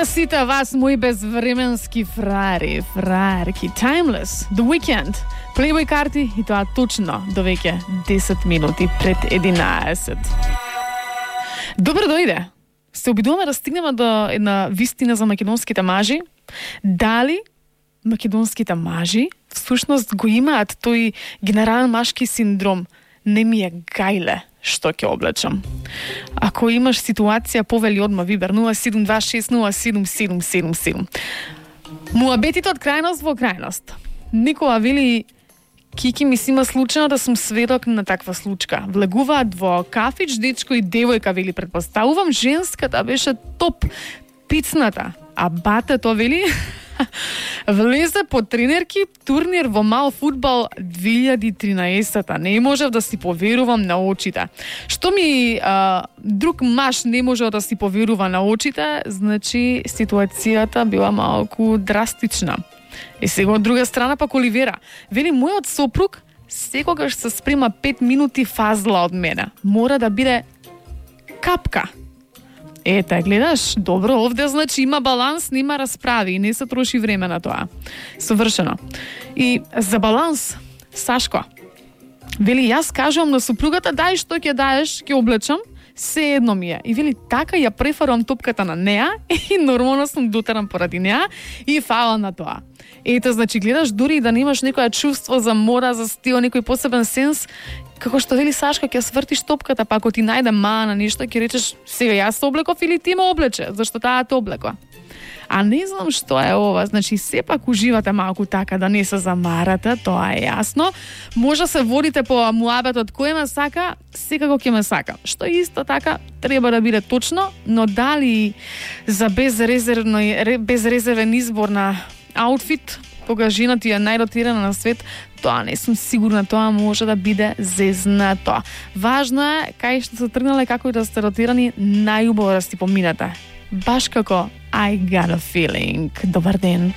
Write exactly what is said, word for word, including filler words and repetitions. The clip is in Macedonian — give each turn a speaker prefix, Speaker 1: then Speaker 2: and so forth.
Speaker 1: сите вас, мои безвременски фраери, фраерки. Timeless, The Weeknd, Playboy карти и тоа точно до веќе десет минути пред единаесет. Добро дојде. Се обидуваме да стигнеме до една вистина за македонските мажи. Дали македонските мажи всушност го имаат тој генерален машки синдром? Не ми е гајле што ќе облечам. Ако имаш ситуација, повели одма Вибер нула седум два шест нула седум седум седум седум. Муабетите од крајност во крајност. Никола вели: Кики, ми си има случајно да сум сведок на таква случка. Влегуваат во кафич, дечко и девојка, вели, предпоставувам, женската беше топ, пицната. А батето, вели, влезе по тренерки турнир во мал фудбал две илјади и тринаесета. Не можев да си поверувам на очите. Што ми а, друг маж не можел да си поверува на очите, значи ситуацијата била малку драстична. И сега од друга страна пак Оливера вели: мојот сопруг секогаш се спрема пет минути фазла од мене. Мора да биде капка. Ете, гледаш, добро, овде значи има баланс, нема расправи и не се троши време на тоа. Совршено. И за баланс, Сашко вели: јас кажувам на супругата: дај што ќе даеш, ќе облечам, се едно ми е. И вели: така ја префарувам топката на неа и нормално сум дотеран поради неа и фала на тоа. Ете, значи, гледаш, дури и да немаш некоја чувство за мода, за стил, некој посебен сенс, како што вели Сашка, ќе свртиш топката, па ако ти најде мана нешто, ќе речеш: сега јас се облеков или ти ме облече, зашто таа те облекла. А не знам што е ова, значи сепак уживате малку така да не се замарате, тоа е јасно. Може се водите по муабетот кој ме сака, секако ќе ме сака. Што исто така треба да биде точно, но дали за безрезервно безрезервен избор на аутфит, кога жената е најротирана на свет, тоа не сум сигурна, тоа може да биде зезнато. Важно е кај што се тргнале, како и да сте ротирани, најубаво да си поминете. Баш како I got a feeling. Добар ден.